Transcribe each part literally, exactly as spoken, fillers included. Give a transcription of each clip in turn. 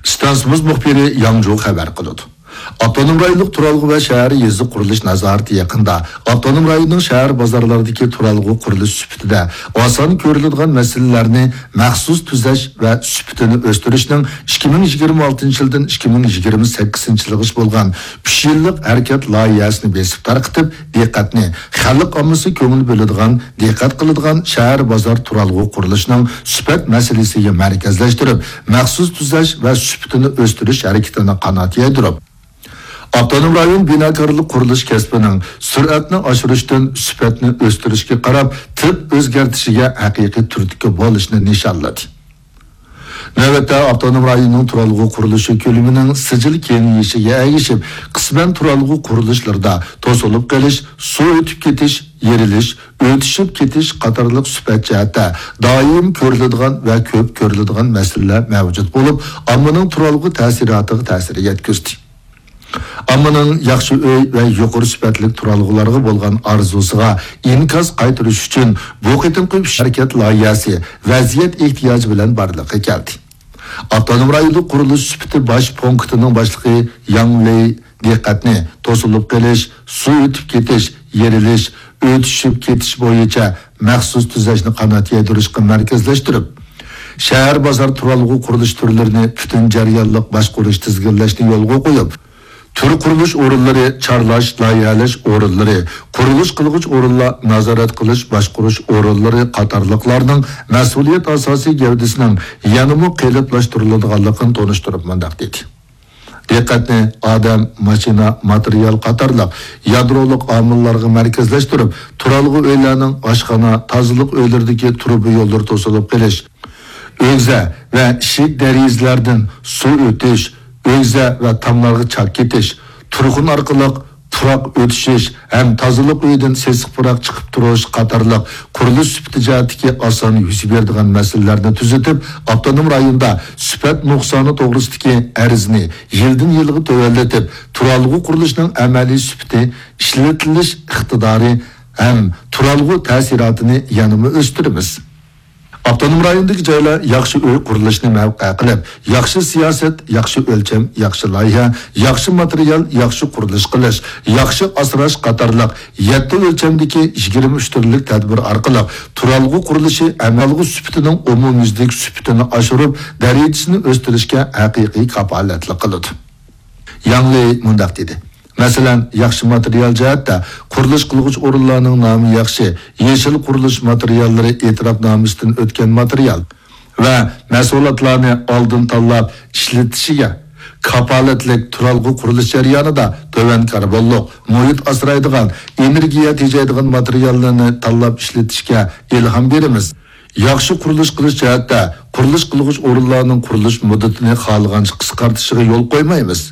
ئىستانسىمىز مۇخبىرى ياڭجۇ خەۋەر قىلىدۇ. ئاپتونوم رايونلۇق تۇرالغۇ ۋە شەھەر يېزا قۇرۇلۇش نازارىتى يېقىندا ئاپتونوم رايوننىڭ شەھەر بازارلىرىدىكى تۇرالغۇ قۇرۇلۇش سۈپىتىدە ئاسان كۆرۈلىدىغان مەسىلىلەرنى مەخسۇس تۈزەش ۋە سۈپىتىنى ئۆستۈرۈشنىڭ ئىككى مىڭ يىگىرمە ئالتىنچى يىلدىن ئىككى مىڭ يىگىرمە سەككىزىنچى يىلغىچە بولغان ئۈچ يىللىق ھەرىكەت لايىھەسىنى بېسىپ تارقىتىپ، دىققەتنى خەلق ئاممىسى كۆڭۈل بۆلىدىغان، دىققەت قىلىدىغان شەھەر بازار تۇرالغۇ قۇرۇلۇشىنىڭ سۈپەت مەسىلىسىگە مەركەزلەشتۈرۈپ، مەخسۇس تۈزەش ۋە سۈپىتىنى ئۆستۈرۈش ھەرىكىتىنى قانات يايدۇرۇپ، ئاپتونوم رايون بىناكارلىق قۇرۇلۇش كەسپىنىڭ سۈرئەتنى ئاشۇرۇشتىن سۈپەتنى ئۆستۈرۈشكە قاراپ تىپ ئۆزگەرتىشىگە ھەقىقىي تۈرتكە بولۇشنى نىشانلىدى. نۆۋەتتە ئاپتونوم رايوننىڭ تۇرالغۇ قۇرۇلۇشى كۆلىمىنىڭ سىجىل كېڭىيىشىگە ئەگىشىپ، قىسمەن تۇرالغۇ قۇرۇلۇشلىرىدا توسۇلۇپ قېلىش، سۇ ئۆتۈپ كېتىش، يېرىلىش، ئۆتۈشۈپ كېتىش قاتارلىق سۈپەت جەھەتتە دائىم كۆرۈلىدىغان ۋە كۆپ كۆرۈلىدىغان مەسىلىلەر مەۋجۇت بولۇپ، ئاممىنىڭ تۇرالغۇ تەسىراتىغا تەسىر يەتكۈزدى. ئاممىنىڭ ياخشى ئۆي ۋە يۇقىرى سۈپەتلىك تۇرالغۇلارغا بولغان ئارزۇسىغا ئىنكاس قايتۇرۇش ئۈچۈن بۇ قېتىمقى ئۈچ ھەرىكەت لايىھەسى ۋەزىيەت ئېھتىياجى بىلەن بارلىققا كەلدى. ئاپتونوم رايونلۇق قۇرۇلۇش سۈپىتى باش پونكىتىنىڭ باشلىقى ياڭ لېي دىققەتنى توسۇلۇپ قېلىش، سۇ ئۆتۈپ كېتىش، يېرىلىش، ئۆتۈشۈپ كېتىش بويىچە مەخسۇس تۈزەشنى قانات يايدۇرۇشقا مەركەزلەشتۈرۈپ، شەھەر بازار تۇرالغۇ قۇرۇلۇش تۈرلىرىنى پۈتۈن جەريانلىق باشقۇرۇش، تىزگىنلەشنى يولغا قويۇپ، تۈر قۇرۇلۇش ئورۇنلىرى، چارلاش، لايىھەلەش ئورۇنلىرى، قۇرۇلۇش قىلغۇچ ئورۇنلار، نازارەت قىلىش، باشقۇرۇش ئورۇنلىرى قاتارلىقلارنىڭ مەسئۇلىيەت ئاساسىي گەۋدىسىنىڭ يەنىمۇ قېلىپلاشتۇرۇلىدىغانلىقىنى تونۇشتۇرۇپ مۇنداق دېدى. دىققەتنى ئادەم، ماشىنا، ماتېرىيال قاتارلىق يادرولۇق ئامىللارغا مەركەزلەشتۈرۈپ، تۇرالغۇ ئۆيلەرنىڭ ئاشخانا، تازىلىق ئۆيلىرىدىكى تۇرۇبا يوللىرى توسۇلۇپ قېلىش، ئۆگزە ۋە ئىشىك دېرىزىلەردىن سۇ ئۆتۈش، ئۆگزە ۋە تاملارغا چاك كېتىش، تۇرخۇن ئارقىلىق پۇراق ئۆتۈشۈش ھەم تازىلىق ئۆيىدىن سېسىق پۇراق چىقىپ تۇرۇش قاتارلىق قۇرۇلۇش سۈپىتى جەھەتتىكى ئاسان يۈز بېرىدىغان مەسىلىلەرنى تۈزىتىپ، ئاپتونوم رايوندا سۈپەت نۇقسانى توغرىسىدىكى ئەرزنى يىلدىن يىلغا تۆۋەنلىتىپ، تۇرالغۇ قۇرۇلۇشىنىڭ ئەمەلىي سۈپىتى، ئىشلىتىلىش ئىقتىدارى ھەم تۇرالغۇ تەسىراتىنى يەنىمۇ ئۆستۈرىمىز. ئاپتونوم رايوندىكى جايلار ياخشى ئۆي قۇرۇلۇشىنى مەۋقە قىلىپ، ياخشى سىياسەت، ياخشى ئۆلچەم، ياخشى لايىھە، ياخشى ماتېرىيال، ياخشى قۇرۇلۇش قىلىش، ياخشى ئاسراش قاتارلىق يەتتە ئۆلچەمدىكى يىگىرمە ئۈچ تۈرلۈك تەدبىر ئارقىلىق تۇرالغۇ قۇرۇلۇشى ئەمەلىي سۈپىتىنىڭ ئومۇميۈزلۈك سۈپىتىنى ئاشۇرۇپ، دەرىجىسىنى ئۆستۈرۈشكە ھەقىقىي كاپالەتلىك قىلىدۇ. ياڭ لېي مۇنداق دېدى، مەسىلەن، ياخشى ماتېرىيال جەھەتتە قۇرۇلۇش قىلغۇچ ئورۇنلارنىڭ نامى ياخشى، يېشىل قۇرۇلۇش ماتېرىياللىرى ئېتىراپنامىسىدىن ئۆتكەن ماتېرىيال ۋە مەھسۇلاتلارنى ئالدىن تاللاپ ئىشلىتىشىگە، كاپالەتلىك تۇرالغۇ قۇرۇلۇش جەريانىدا تۆۋەن كاربونلۇق، مۇھىت ئاسرايدىغان، ئېنېرگىيە تېجەيدىغان ماتېرىياللارنى تاللاپ ئىشلىتىشكە ئىلھام بېرىمىز. ياخشى قۇرۇلۇش قىلىش جەھەتتە قۇرۇلۇش قىلغۇچ ئورۇنلارنىڭ قۇرۇلۇش مۇددىتىنى خالىغانچە قىسقارتىشىغا يول قويمايمىز.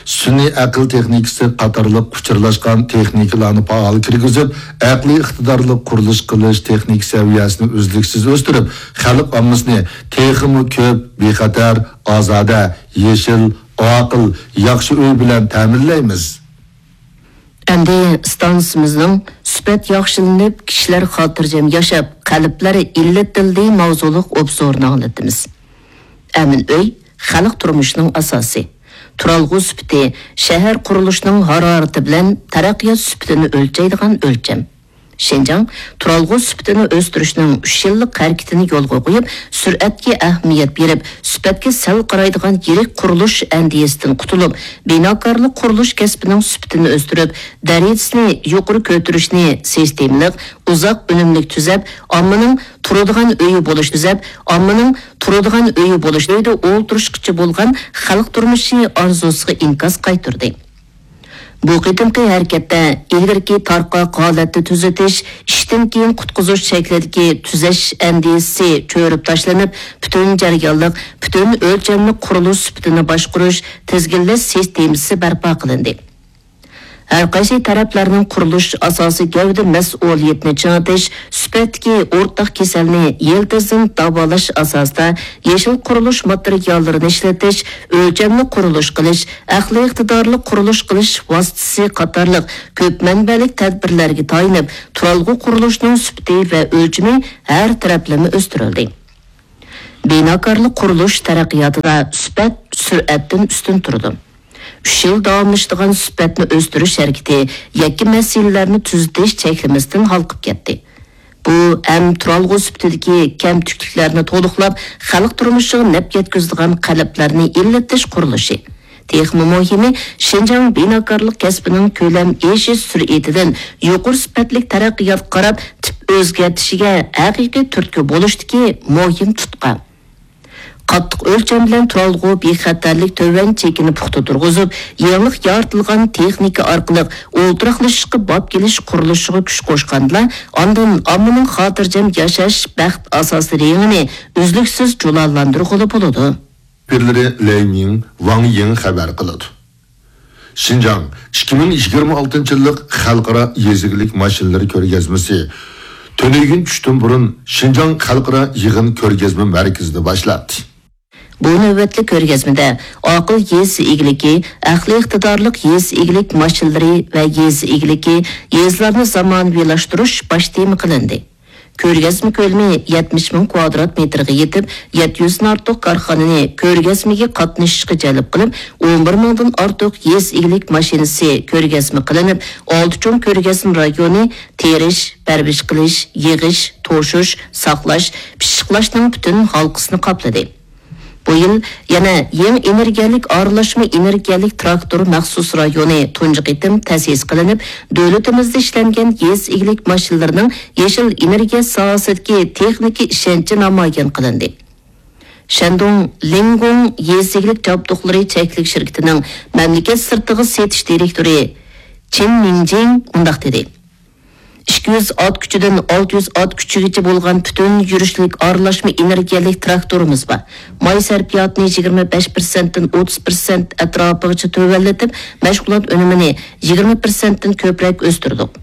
سۈنئىي ئەقىل تېخنىكىسى قاتارلىق ئۇچۇرلاشقان تېخنىكىلارنى پائال كىرگۈزۈپ، ئەقلىي ئىقتىدارلىق قۇرۇلۇش قىلىش تېخنىكا سەۋىيەسىنى ئۈزلۈكسىز ئۆستۈرۈپ، خەلق ئاممىسىنى تېخىمۇ كۆپ، بىخەتەر، ئازادە، يېشىل، ئاقىل، ياخشى ئۆي بىلەن تەمىنلەيمىز. ئەمدى ئىستانسىمىزنىڭ سۈپەت ياخشىلىنىپ، كىشىلەر خاتىرجەم ياشاپ، قەلبلەر ئىللىتىلدى ماۋزۇلۇق ئوبزورىنى ئاڭلىتىمىز. ئەمىن ئۆي خەلق تۇرمۇشىنىڭ ئاساسى. تۇرالغۇ سۈپىتى شەھەر قۇرۇلۇشىنىڭ ھارارىتى بىلەن تەرەققىيات سۈپىتىنى ئۆلچەيدىغان ئۆلچەم. شىنجاڭ تۇرالغۇ سۈپىتىنى ئۆستۈرۈشنىڭ ئۈچ يىللىق ھەرىكىتىنى يولغا قويۇپ، سۈرئەتكە ئەھمىيەت بېرىپ، سۈپەتكە سەل قارايدىغان يىرىك قۇرۇلۇش ئەندىزىسىدىن قۇتۇلۇپ، بىناكارلىق قۇرۇلۇش كەسپىنىڭ سۈپىتىنى ئۆستۈرۈپ، دەرىجىسىنى يۇقىرى كۆتۈرۈشنى سىستېمىلىق، ئۇزاق ئۈنۈملۈك تۈزەپ، ئاممىنىڭ تۇرىدىغان ئۆيى بولۇش تۈزەپ، ئاممىنىڭ تۇرىدىغان ئۆيى بولۇش، ئۆيدە ئولتۇرۇشقىچە بولغان خەلق تۇرمۇشى ئارزۇسىغا ئىنكاس قايتۇردى. بۇ قېتىمقى ھەرىكەتتە ئىلگىرىكى تارقاق ھالەتتە تۈزىتىش، ئىشتىن كېيىن قۇتقۇزۇش شەكلىدىكى تۈزەش ئەندىزىسى چۆرۈپ تاشلىنىپ، پۈتۈن جەريانلىق، پۈتۈن ئۆلچەملىك قۇرۇلۇش سۈپىتىنى باشقۇرۇش، تىزگىنلەش سىستېمىسى بەرپا قىلىندى. ھەر قايسى تەرەپلەرنىڭ قۇرۇلۇش ئاساسىي گەۋدە مەسئۇلىيىتىنى چىڭىتىش، سۈپەتتىكى ئورتاق كېسەلنى يىلتىزدىن داۋالاش ئاساسىدا يېشىل قۇرۇلۇش ماتېرىياللىرىنى ئىشلىتىش، ئۆلچەملىك قۇرۇلۇش قىلىش، ئەقلىي ئىقتىدارلىق قۇرۇلۇش قىلىش ۋاسىتىسى قاتارلىق كۆپ مەنبەلىك تەدبىرلەرگە تايىنىپ، تۇرالغۇ قۇرۇلۇشىنىڭ سۈپىتى ۋە ئۆلچىمى ھەر تەرەپلىمە ئۆستۈرۈلدى. بىناكارلىق قۇرۇلۇش تەرەققىياتىدا سۈپەت سۈرئەتتىن ئۈستۈن تۇرىدۇ. ئۈچ يىل داۋاملىشىدىغان سۈپەتنى ئۆستۈرۈش ھەرىكىتى يەككە مەسىلىلەرنى تۈزىتىش چەكلىمىسىدىن ھالقىپ كەتتى. بۇ ھەم تۇرالغۇ سۈپىتىدىكى كەمتۈكلۈكلەرنى تولۇقلاپ، خەلق تۇرمۇشىغا نەپ يەتكۈزىدىغان قەلبلەرنى ئىللىتىش قۇرۇلۇشى. تېخىمۇ مۇھىمى، شىنجاڭ بىناكارلىق كەسپىنىڭ كۆلەم ئېشىش سۈرئىتىدىن يۇقىرى سۈپەتلىك تەرەققىياتقا قاراپ تىپ ئۆزگەرتىشىگە ھەقىقىي تۈرتكە بولۇشتىكى مۇھىم تۇتقا. قاتتىق ئۆلچەم بىلەن تۇرالغۇ بىخەتەرلىك تۆۋەن چېكىنى پۇختا تۇرغۇزۇپ، يېڭىلىق يارىتىلغان تېخنىكا ئارقىلىق ئولتۇراقلىشىشقا باب كېلىش قۇرۇلۇشىغا كۈچ قوشقاندىلا، ئاندىن ئاممىنىڭ خاتىرجەم ياشاش بەخت ئاساسىي رېڭىنى ئۈزلۈكسىز جۇلالاندۇرغىلى بولىدۇ. مۇخبىرلىرى لەي مىڭ، ۋاڭ يىڭ خەۋەر قىلىدۇ. شىنجاڭ ئىككى مىڭ يىگىرمە ئالتىنچى يىللىق خەلقئارا يېزا ئىگىلىك ماشىنىلىرى كۆرگەزمىسى تۈنۈگۈن چۈشتىن بۇرۇن شىنجاڭ خەلقئارا يىغىن كۆرگەزمە مەركىزىدە باشلاندى. بۇ نۆۋەتلىك كۆرگەزمىدە ئاقىل يېزا ئىگىلىكى، ئەقلىي ئىقتىدارلىق يېزا ئىگىلىك ماشىنىلىرى ۋە يېزا ئىگىلىكى، يېزىلارنى زامانىۋىلاشتۇرۇش باش تېما قىلىندى. كۆرگەزمە كۆلىمى يەتمىش مىڭ كۋادرات مېتىرغا يېتىپ، يەتتە يۈزدىن ئارتۇق كارخانىنى كۆرگەزمىگە قاتنىشىشقا جەلپ قىلىپ، ئون بىر مىڭدىن ئارتۇق يېزا ئىگىلىك ماشىنىسى كۆرگەزمە قىلىنىپ، ئالتە چوڭ كۆرگەزمە رايونى تېرىش، پەرۋىش قىلىش، يىغىش، توشۇش، ساقلاش، پىششىقلاشنىڭ پۈتۈن ھالقىسىنى قاپلىدى. بۇ يىل يەنە يېڭى ئېنېرگىيەلىك ئارىلاشما ئېنېرگىيەلىك تىراكتور مەخسۇس رايونى تۇنجى قېتىم تەسىس قىلىنىپ، دۆلىتىمىزدە ئىشلەنگەن يېزا ئىگىلىك ماشىنىلىرىنىڭ يېشىل ئېنېرگىيە ساھەسىدىكى تېخنىكا ئىشەنچى نامايان قىلىندى. شەندۇڭ لىڭگۇڭ يېزا ئىگىلىك جابدۇقلىرى چەكلىك شىركىتىنىڭ مەملىكەت سىرتىغا سېتىش دىرېكتورى چېن مىڭجىڭ مۇنداق دېدى: ئىككى يۈز ئات كۈچىدىن ئالتە يۈز ئات كۈچىگىچە بولغان پۈتۈن يۈرۈشلۈك ئارىلاشما ئېنېرگىيەلىك تىراكتورىمىز بار. ماي سەرپىياتىنى يىگىرمە بەش پىرسەنتتىن ئوتتۇز پىرسەنت ئەتراپىغىچە تۆۋەنلىتىپ، مەشغۇلات ئۈنۈمىنى يىگىرمە پىرسەنتتىن كۆپرەك ئۆستۈردۇق.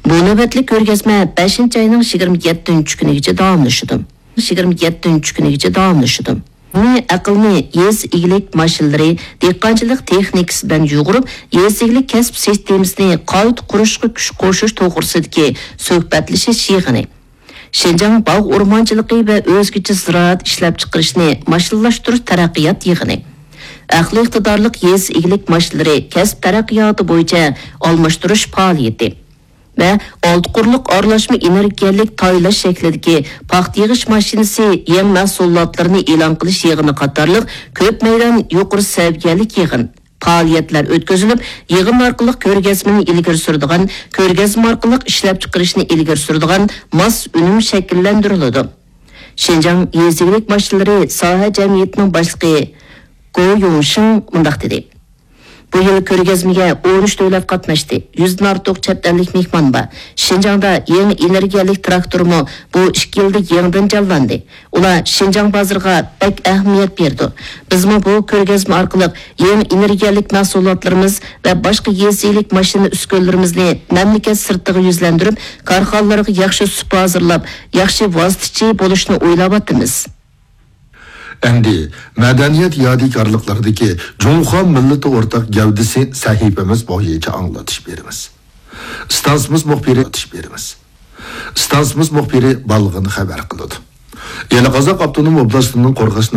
بۇ نۆۋەتلىك كۆرگەزمە بەشىنچى ئاينىڭ يىگىرمە يەتتىنچى كۈنىگىچە داۋاملىشىدۇ. يىگىرمە يەتتىنچى كۈنىگىچە داۋاملىشىدۇ. ئەقىلنى يېزا ئىگىلىك ماشىنىلىرى، دېھقانچىلىق تېخنىكىسى بىلەن يۇغۇرۇپ، يېزا ئىگىلىك كەسىپ سىستېمىسىنى قايتا قۇرۇشقا كۈچ قوشۇش توغرىسىدىكى سۆھبەتلىشىش يىغىنى. شىنجاڭ باغ ئورمانچىلىقى ۋە ئۆزگىچە زىرائەت ئىشلەپچىقىرىشنى ماشىنىلاشتۇرۇش تەرەققىيات يىغىنى. ئەقلىي ئىقتىدارلىق يېزا ئىگىلىك ماشىنىلىرى كەسىپ تەرەققىياتى بويىچە ئالماشتۇرۇش پائالىيىتى. ۋە ئالتە قۇرلۇق ئارىلاشما ئېنېرگىيەلىك تايلاش شەكلىدىكى پاختا يىغىش ماشىنىسى يېڭى مەھسۇلاتلىرىنى ئېلان قىلىش يىغىنى قاتارلىق كۆپ مەيدان يۇقىرى سەۋىيەلىك يىغىن، پائالىيەتلەر ئۆتكۈزۈلۈپ، يىغىن ئارقىلىق كۆرگەزمىنى ئىلگىرى سۈرىدىغان، كۆرگەزمە ئارقىلىق ئىشلەپچىقىرىشنى ئىلگىرى سۈرىدىغان ماس ئۈنۈم شەكىللەندۈرۈلىدۇ. شىنجاڭ يېزا ئىگىلىك ماشىنىلىرى ساھە جەمئىيىتىنىڭ باشلىقى گو يۇڭشىڭ مۇنداق دېدى: بۇ يىل كۆرگەزمىگە ئون ئۈچ دۆلەت قاتناشتى، يۈزدىن ئارتۇق چەت ئەللىك مېھمان بار. شىنجاڭدا يېڭى ئېنېرگىيەلىك تىراكتورمۇ بۇ ئىككى يىلدا يېڭىدىن جانلاندى. ئۇلار شىنجاڭ بازىرىغا بەك ئەھمىيەت بېرىدۇ. بىزمۇ بۇ كۆرگەزمە ئارقىلىق يېڭى ئېنېرگىيەلىك مەھسۇلاتلىرىمىز ۋە باشقا يېزا ئىگىلىك ماشىنا ئۈسكۈنىلىرىمىزنى مەملىكەت سىرتىغا يۈزلەندۈرۈپ، كارخانىلارغا ياخشى سۇپا ھازىرلاپ، ياخشى ۋاسىتىچى بولۇشنى ئويلاۋاتىمىز. ئەمدى مەدەنىيەت يادىكارلىقلىرىدىكى جۇڭخۇا مىللىتى ئورتاق گەۋدىسى سەھىپىمىز بويىچە ئاڭلىتىش بېرىمىز. ئىستانسىمىز مۇخبىرى، ئىستانسىمىز مۇخبىرى بالغىن خەۋەر قىلىدۇ. ئىلى قازاق ئاپتونوم ئوبلاستىنىڭ قورغاس